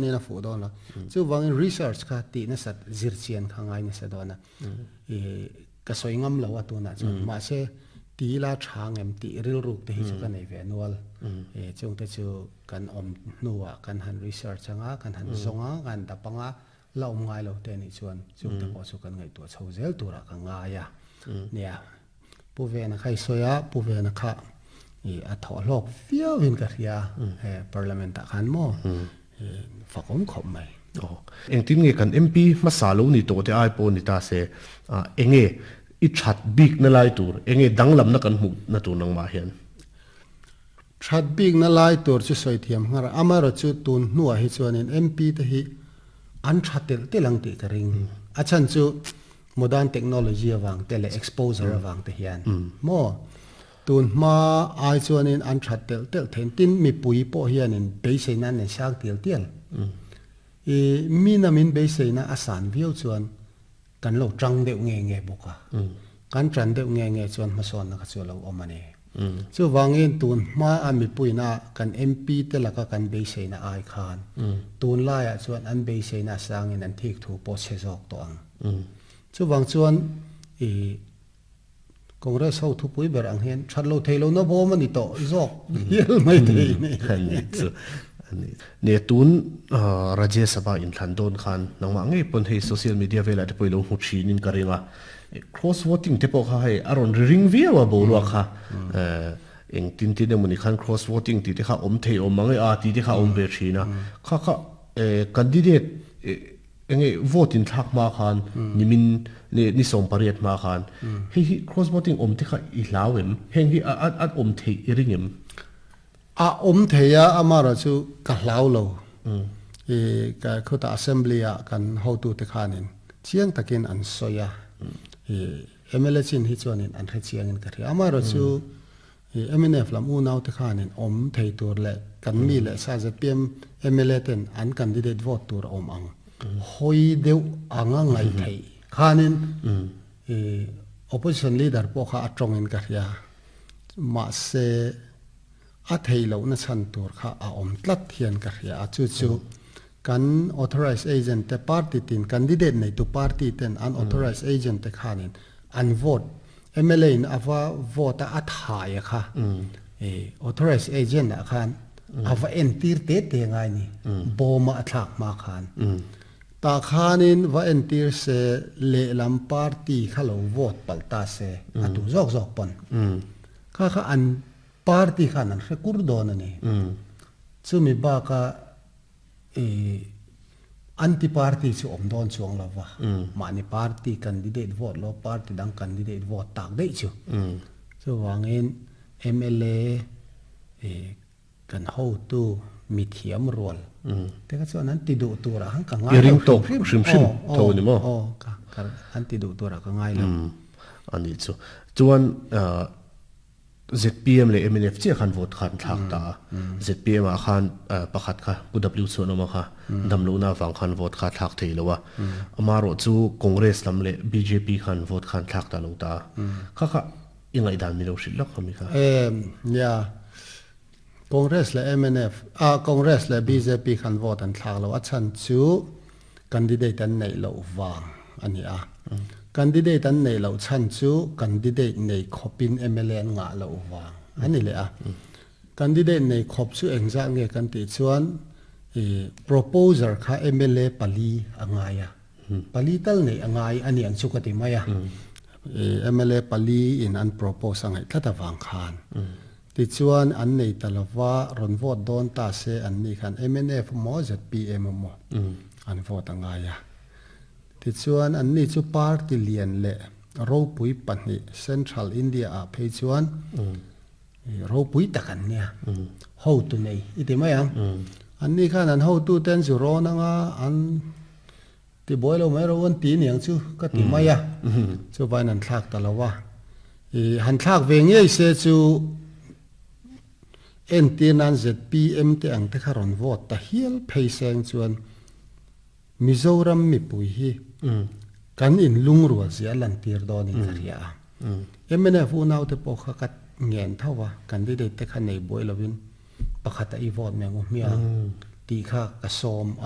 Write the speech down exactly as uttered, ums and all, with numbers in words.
Ni na fu don la chu wangin research kha ti na sat zir chian kha ngai na sa don na e ka soi ngam lo atu na chu ma se ti la thang em ti ril ruk te hi chu ka nei ve nual e chung te chu kan om nuwa kan han research anga kan han zonga kan tapanga la om ngai lo te ni chuan chung te pawh chu kan ngai tu chho zel tura ka ngaia nia pu ve na khai soya pu ve na kha e a tho hlok fiau in ka ria he parliament ta khan mo fakom khop mai oh engtin nge kan M P ma sa lo ni to te ai po ni ta se enge i that big na lai tur enge danglam na kan mu na tur nang ma hian that big na lai tur chu soi thiam ngar amaro chu tun nuwa hi chuanin M P te hi an thatel telang ti ka ring a chan chu modern technology awang te le exposure awang te hian mo tun ma ai chuanin an thatel tel then tin mi pui po hianin beiseina ne sak tial tial e mi na min beiseina asan viau chuan kan lo tang deuh nge nge boka kan tran deuh nge nge chuan ma son na ka chu lo omani chu wangin tun ma a mi puina kan M P te laka kan beiseina ai khan tun laia chuan an beiseina sangin an thik thu po che jok to ang chu wang chuan e Congress ho thu pui ber ang hian that lo theilo na bom ani to jok hial mai thei ni ani chu ani ne tun Rajya Sabha in thlan don khan nangma ngei pon hei social media vela te poilo hu thin in karinga cross voting te pawh kha hei aron ring viau a bo lua kha eng tin tin emawni khan cross voting ti te kha awm thei awm ang e a ti te kha awm ve thina kha kha candidate enge vote in thlak ma khan nimin ne ni som pariat ma khan hei hi cross voting awm te kha i hlau em heng hi a a awm thei i ring em a awm thei a amara chu ka hlau lo e ka khota assembly a kan hotu te khanin chiang takin an soya e M L A chin hi chuanin an hre chiangin ka ri amaro chu M N F lam u nau te khanin om thei tur le kan mi le sa Z P M M L A ten an candidate vote tur om ang hoi deuh anga ngai thei khanin e opposition leader po kha atongin ka ria ma se a thei lo na chan tur kha a om tlat hian ka ria a chu chu kan authorized agent te party tin candidate nei tu party ten an authorized agent te khanin an vote M L A in ava vote a thai kha e authorized agent a khan ava entir te te ngai ni boma a thlak ma khan ta khanin va entir se le lam party khalo vote palta se atu jok jok pon kha kha an party khan an rekur don ani chumi ba ka e anti party chu om don chuang lawa mani party candidate vote lo party dang candidate vote tak dei chu chu wangin M L A e kan ho tu mi thiam rol te ka chuan an ti du tura hang ka ngai ring to hrim hrim tho ni mo o ka an ti du tura ka ngai lo ani chu chuan Z P M le M N F che khan vote khan thak ta Z P M a khan pakhat kha P W chonoma kha damlo na wang khan vote kha thak thei lowa amaro chu Congress lam le B J P khan vote khan thak ta lo ta kha kha ingai dan mi lo shit lok khami kha em ya Congress le M N F a Congress le B J P khan vote an thak lo a chan chu candidate an nei lo wang ani a candidate an nei lo chan chu candidate nei khopin M L A an nga lo wang ani le a candidate nei khop chu engza nge kan ti chuan e proposer kha M L A pali angaya pali tal nei angai ani ang chu ka ti maya e M L A pali in an propose angai thlata wang khan ti chuan an nei talawa ron vote don ta se an ni khan M N F mo Z P M mo an vote angaya ti chuan an ni chu party lian le ropui pahnih Central India a phei chuan ropui takan nia ho tu nei iti mai ang an ni khan an ho tu ten zu ron anga an ti boi lo mai ro an ti niang chu ka ti mai a chu vain an thlak talawa e han thlak ve ngei se chu en tin an Z P M te ang te kharon vote ta hial phei seng chuan Mizoram mi pui hi kan in lungrual zia lan tir don in karia M N F u nau te pawh kha ka ngen thawa candidate te kha nei boi lovin pakhata i vote me ngu mia Ti kha ka som a.